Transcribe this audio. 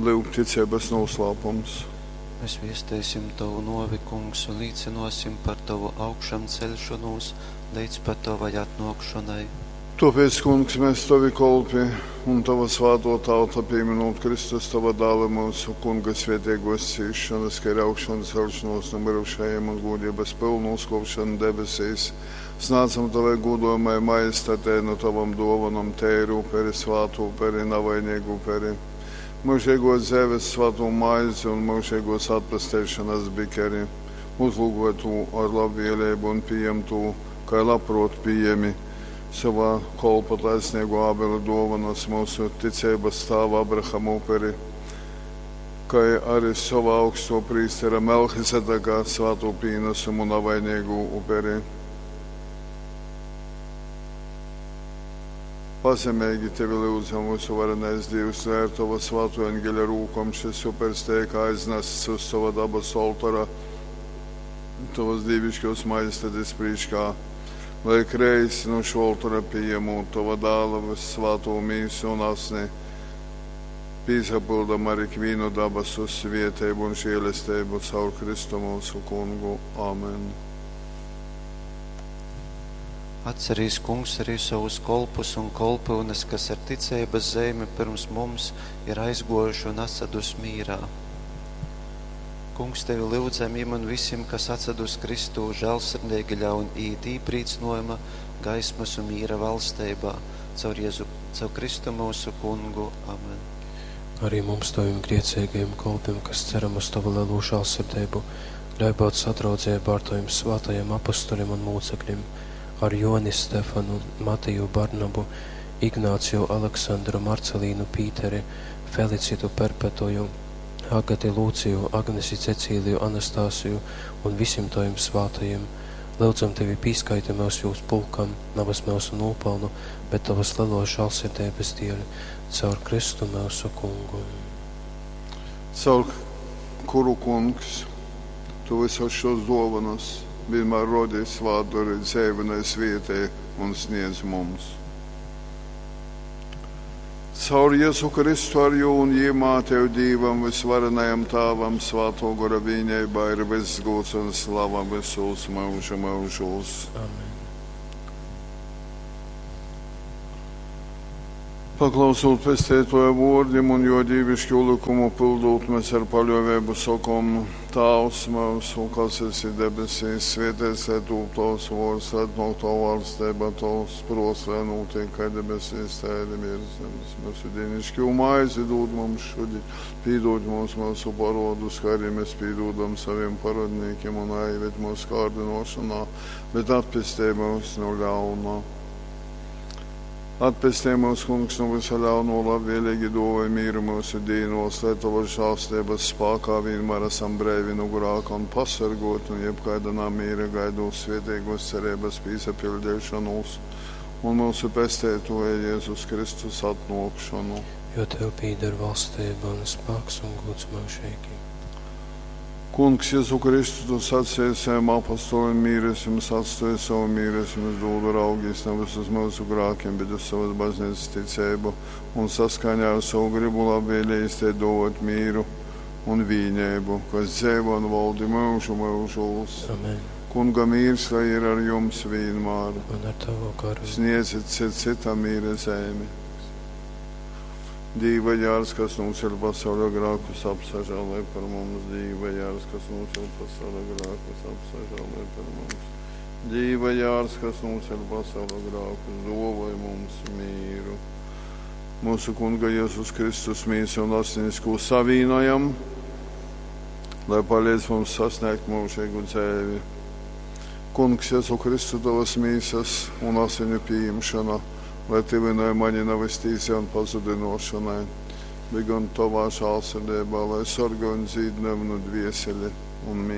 Lyuk, ticeibas nūslāpums. Mēs viesteisim tovu nōvi, Kungs, un līcynōsim par tovu augšamceļšonūs leidz pat tovai atnōkšonai. Tōpēc, Kungs, mes, tovi kolpi un tova svātō tauta, pīmynūt Kristus, tova Dāla, myusu Kunga svēteigōs cīsšonas, kai arī augšancelšanos nu myrušajim un gūdeibas pylnu uzkōpšonu debesīs, snādzam tovai gūdojamai majestatei nu tovom dōvonom teiru uperi, svātu uperi, navaineigu uperi, myužeigōs dzeives svātū maizi un myužeigōs atpesteišonas bikeri. Uzlūgoj tū ar labvēleibu un pījem tū, kai labprōt pījemi sovā kolpa taisneigō Ābela dōvonas, myusu ticeibas tāva Abrahama uperi, kai arī sova augstō prīstera Melchizedeka svātū pīnasumu navaineigū uperi. Pazemeigi tevi lyudzam, vysuvarenais Dīvs, lai ar tova svātō eņgeļa rūkom šys upers teik aiznasts uz tova dabasu oltora, tovas dīviškōs majestates prīškā, lai ikreiz nu šō oltora pījemūt tova Dāla vyssvātū mīsu un asni, pīsapyldam ar ikvīnu dabasu svieteibu un žēlesteibu caur Kristu mūsu Kungu. Amen. Atcerīs, Kungs, arī savus kolpus un kolpyunes, kas ar ticeibas zeimi pirms mums ir aizgōjuši un atsadus mīrā. Kungs, tevi lyudzam jim un visim, kas atsadus Kristū, žēlsirdīgi ļaun iet īprīcynojuma, gaismas un mīra valsteibā, caur Jēzu, caur Kristu mūsu Kungu. Amen. Arī mums, tavim grēcīgajiem kolpiem, kas ceram uz tavu lielo žēlsirdību, ļauj būt sadraudzībā ar taviem svētajiem apustuļiem un mūcekļiem, ar Joni Stefanu, Matiju Barnabu, Ignāciju Aleksandru, Marcelīnu Pīteri, Felicitu Perpetuju, Agati Lūciju, Agnesi Cecīliju, Anastasiju un visiem taviem svētajiem. Lūdzam tevi pīskaiti mūs jūs pulkam, navas mūsu nopelnu, bet tavas lielos žēlsirdības dēļ, caur Kristu mūsu Kungu. Caur kuru, Kungs, tu visas šos dovanas vienmēr rodi svātdori dzeivinai svietē un sniedz mums. Caur Jēzu Kristu ar jū un jīmā tev Dīvam, visvarenajam Tāvam, svāto gora vīneibā ir viss gods un slava visos mūža mūžos. Amen. Paklausot pestētoja vōrdim un jo dīvišķo likumu pildot, mēs ar paļāvību sakom: Tāvs mūsu, kas esi debesīs, svētīts lai tūp tavs vārds, lai atnāk tava valstība, tavs prāts, lai notiek kā debesīs, tā arī virs zemes. Mūsu dienišķo maizi dod mums šodien, piedod mums mūsu parodus, kā arī mēs piedodam saviem parodniekiem, un neieved mūsu kārdinošanā, bet atpestī mūs no ļauna. Atpestī mūs, Kungs, no visa ļauno, labvēlīgi dāvāj mieru mūsu dīnos, lai tavas žēlastības spēkā vienmēr esam brīvi no grēka un pasargoti no jebkāda namiera, gaidot svētīgos cerības pīsapildīšanos un mūsu pestētoja Jēzus Kristus atnākšanu. Jo tev pīder valstība un spēks un gods mūžīgi. Kungs, Jēzu Kristu, tu sacīji saviem apostoliem, mīru es jums atstāju, savu mīru es jums dodu, raugīs nevis uz mūsu grēkiem, bet uz savas baznīcas ticību un saskaņā ar savu gribu labvēlīgi te dot mīru un vīnību, kas dzīvo un valdi mūžu mūžos. Amen. Kunga mīrs, lai ir ar jums vienmēr. Un ar tavu garu. Sniedziet cit citam mīra zemi. Dīva jārs, kas nocēl pasaules grēkus, apsažālē par mums. Dīva jārs, kas nocēl pasaules grēkus, apsažālē par mums. Dīva jārs, kas nocēl pasaules grēkus, dāvāj mums mīru. Mūsu Kunga Jēzus Kristus mīsu un asinis, ko savīnojam, lai palīdz mums sasniegt mūžīgu dzīvi. Kungs, Jēzu Kristu, tavas mīsas un asiņu pieņemšana, lai tuvināja mani nevis tīsai un pazudinošanai, bet gan tavā žēlsirdībā, lai sargā un dzīdina manu dvieseli un mīlu.